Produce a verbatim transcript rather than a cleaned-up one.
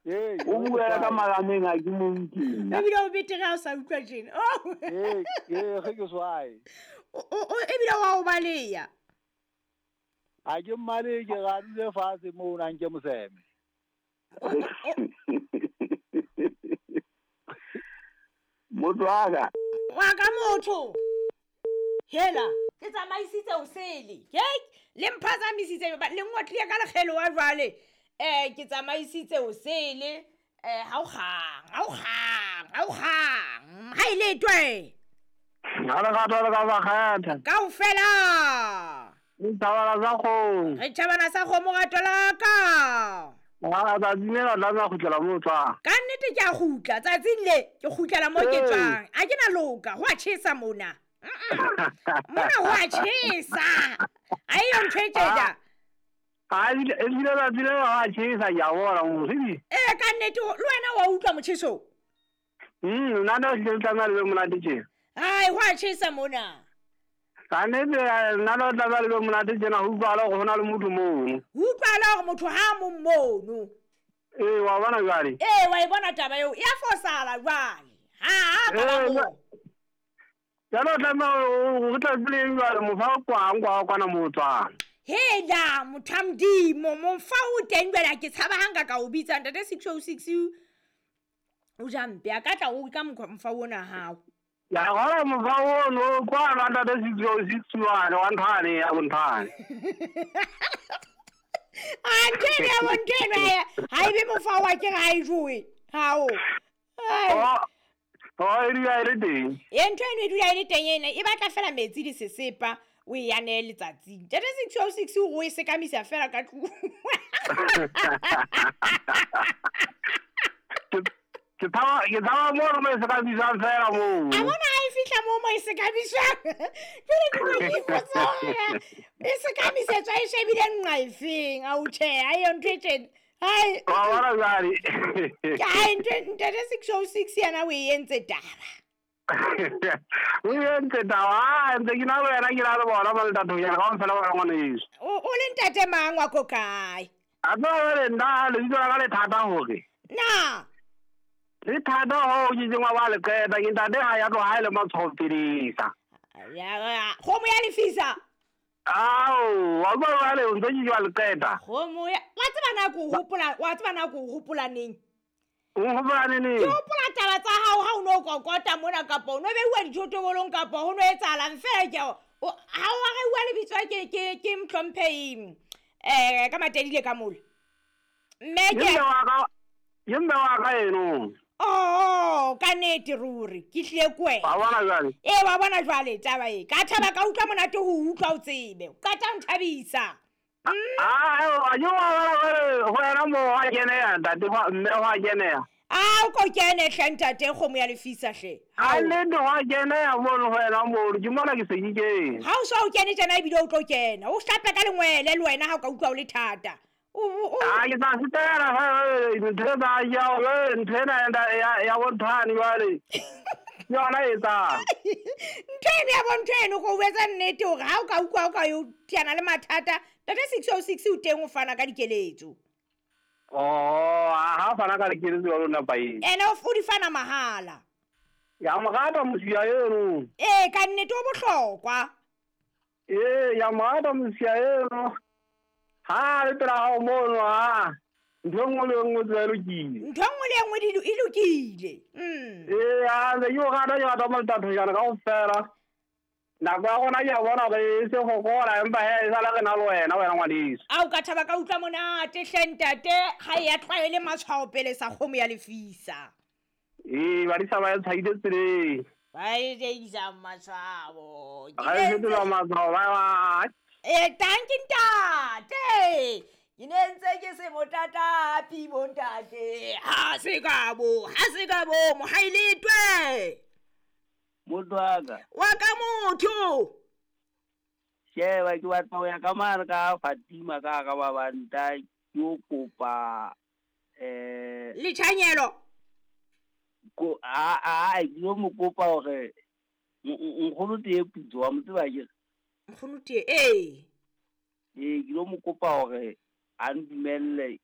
Ee, O buela ka marameng a ke mo utlwe. Ebile o betere ha o sa utlwa tjena. Oh. Ee, ee, ge ke swae. O- o- o- ebile wa o baleya. Ha ke mmale ke ga dule fatshe moo o nang ke moseme. Motho wa ka. Wa ka motho. Hela, ke tsamaisitse o sele. Ke le mphazamisitse ba le ngotlile ka lekgelo wa jwale. Eh ke tsamaisitse o sele. Eh ha o kgang, ha o kgang, ha o kgang. Ha ile twe. Ha le rata le ka ba kgetha. Kaofela. Le thabana sa kgomo. Re thabana sa kgomo rato la ka. Ha tsatsing lena o tlameha ho kgutlela moo o tswang. Ka nnete ke a kgutla tsatsing le ke kgutlela moo ke Ee. tswang. A ke na loka, ho a tjhesa mona. Mm-mm. Mona ho a tjhesa. Ha eyo ntho e tjena. Ha ebile ebile tsatsi lena ho a tjhesa ke a bona mosidi. Ee, ka nnete le wena wa utlwa motjheso. Mm, nna le hlile le tlameha le be monate tjena. Hai, ho a tjhesa mona. Ka nnete nna le tlameha le be monate tjena ho utlwahala hore ho na le motho mono. Ho utlwahala hore motho ha a mong mono. Ee, wa bona jwale. Ee, wa e bona taba eo. E a fosahala jwale. Ha a ka ba Ee, moo. Jwale o tlameha o re tla tsebeng jwale mofa o kwang kwa kwana moo o tswang. Hela, motho wa Modimo, mofa o teng jwale ha ke tshaba ha nka ka o bitsa ntate six oh six o ja mpe a ka tla o ka mokgwa mofa ona hao. Ya hona mofa ono kwa ntate six oh six one wa nthane ya bonthane. A ntho eno ya bo ntho eno ha ha ebe mofa wa ke ha e jowe. Hao. Ai. Oh, oh, e dula e le teng. E ntho eno e dula e le teng ena e batla fela metsi le sesepa o e anehe letsatsing. Ntate six oh six o e sekamisa fela ka tlung. Ke ke tshaba ke tshaba moo mo e sekamisang fela moo. A bona ha e fihla moo mo e sekamisang. Jwale ke tlo ke ipotsa hore e sekamisetswa e shebile nqa efeng. Ao tjhe, ha eyo ntho e tjena. Hai. Wa bona jwale. Ke hai ntho ntate six oh six yena o e entse taba. O e entse taba, ha ntse ke na le wena ke na le bona ba le ntate ya ka ofela ba ngwaneso. O o le ntate mang wa ko kae? A tseba jwale nna lebitso la ka le thata hore. Na. Le thata hoo ke keng wa ba le qeta ke ntate ha ya tloha ha e le matshwao pelesa. Ya, kgomo ya lefisa. Ao, wa utlwa jwale o ntse ke wa le qeta. Kgomo ya, wa tseba na ko hopola, wa tseba na ko hopola neng? O hopola neng? Ke hopola taba tsa hao ha o no kokota mona kapa o no beuwa dithotobolong kapa ho no etsahalang fela ke o ha o a reuwa lebitso ke ke ke Mhlomphehing eh ka Matedile ka mola. Mme ke Ke mme wa ka, ke mme wa ka eno. Oh, ka nnete ruri ke hlile ko wena. Wa bona jwale? Ee, wa bona jwale taba e. Ka thaba ka utlwa monate ho utlwa o tsebe. O qeta ho nthabisa. Ah, a yo wa bona jwale ho wena moo wa keneha ntate mme wa keneha. Ah, o ko kene hle ntate kgomo ya lefisa hle. Ha nnete wa keneha mono ho wena moo ke mona ke se ke kene. Ha o so o kene tjena ebile o tlo kena. O hlape ka lengwele le wena ha o ka utlwa o le thata. O, o, o. Ah, ke tla sitela ha ntho tsa ya ntho ena ya ya bonthane jwale. Ke yona e etsang. Ntho eno ya bontho eno go etsa nnete hore ha o ka utlwa o ka yo tiana le mathata, ntate six oh six o teng o fana ka dikeletso. Oh, ha fana ka dikeletso jwalo napa eng? Ene o di fana mahala. Ya mo rata mosia eno. Ee, ka nnete o bohlokwa. Ee, ya mo rata mosia eno. Ha le pela hao mono ha. Ntho e nngwe le e nngwe tsela e lokile. Ntho e nngwe le e nngwe di e lokile. Mm. Ee, ha ntse ke o rata ke rata Maltatho jana kaofela. Nako ya rona ke a bona hore e se fokola empa he e sala re na le wena wena ngwaneso. Ao ka thaba ka utlwa monate hle ntate ha e a tlwaele matshwao pele sa kgomo ya lefisa. Ee, badisa ba e tshwaile tseleng. Ba e isa matshwao. Ga e fetola matshwao ba ba. Eh, thank you ntate. Ke ne ntse ke se motatapi bo ntate. Ha se ka bo, ha se ka bo, mohaeletwe. Motho wa ka. Wa ka motho. Sheba ke batla ho ya ka mane ka Fatima ka ka ba banta ke o kopa eh Letjhanyelo. Ko a a ke yo mo kopa hore nkgono tee putso wa mo tseba ke. Nkgono tee ee. Ee, ke lo mo kopa hore a ndumelle